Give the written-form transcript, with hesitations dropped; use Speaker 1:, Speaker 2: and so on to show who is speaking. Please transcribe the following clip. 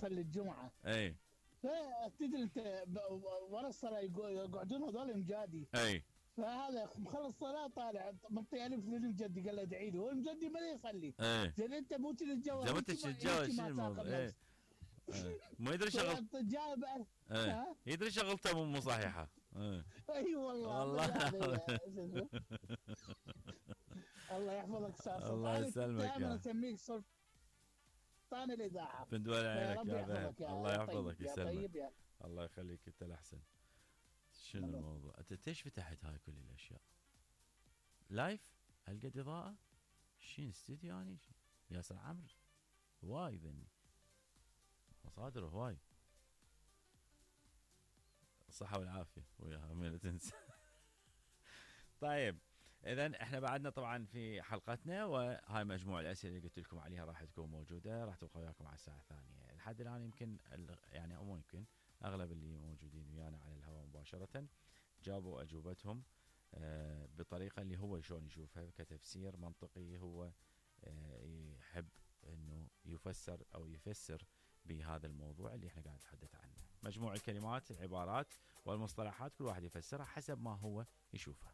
Speaker 1: يصلي الجمعه.
Speaker 2: اي
Speaker 1: فتدري انت ورا الصلاه يقعدون هذول مجادي.
Speaker 2: اي
Speaker 1: فهذا مخلص صلاه طالع منطي الف للمجدي قال له ادعي له، والمجدي ما يصلي.
Speaker 2: اي
Speaker 1: زين انت مو تتجوز
Speaker 2: زي ما انت تتجاوز شو
Speaker 1: ما
Speaker 2: الموضوع؟
Speaker 1: تاخذ
Speaker 2: اي
Speaker 1: نفس.
Speaker 2: ما يدري شغل.
Speaker 1: جاء بعد.
Speaker 2: اي
Speaker 1: ها
Speaker 2: يدري شغلته مو صحيحه.
Speaker 1: اي والله
Speaker 2: والله.
Speaker 1: الله يحفظك استاذ
Speaker 2: الله
Speaker 1: سلطان،
Speaker 2: يسلمك
Speaker 1: دائما
Speaker 2: يا
Speaker 1: اسميك سلطان الاذاعه.
Speaker 2: بن دول
Speaker 1: يا
Speaker 2: عينك
Speaker 1: رب
Speaker 2: يا بن.
Speaker 1: يحفظك
Speaker 2: الله
Speaker 1: يا
Speaker 2: يحفظك
Speaker 1: طيب يا
Speaker 2: يسلمك.
Speaker 1: طيب يا.
Speaker 2: الله يخليك انت الاحسن. شنو الموضوع؟ انت ليش فتحت هاي كل الاشياء؟ لايف هالقد اضاءه؟ شين استديو يعني؟ ياسر عمرو هواي ذني مصادره هواي. الصحة والعافية وياها من تنسى. طيب اذا احنا بعدنا طبعا في حلقتنا، وهاي مجموعة الاسئلة اللي قلت لكم عليها راح تكون موجودة، راح تبقى وياكم على الساعة 2. لحد الان يمكن يعني او مو يمكن اغلب اللي موجودين ويانا على الهواء مباشرة جابوا اجوبتهم بطريقة اللي هو شلون يشوفها كتفسير منطقي، هو يحب انه يفسر او يفسر بهذا الموضوع اللي احنا قاعد نتحدث عنه. مجموع الكلمات العبارات والمصطلحات كل واحد يفسرها حسب ما هو يشوفها.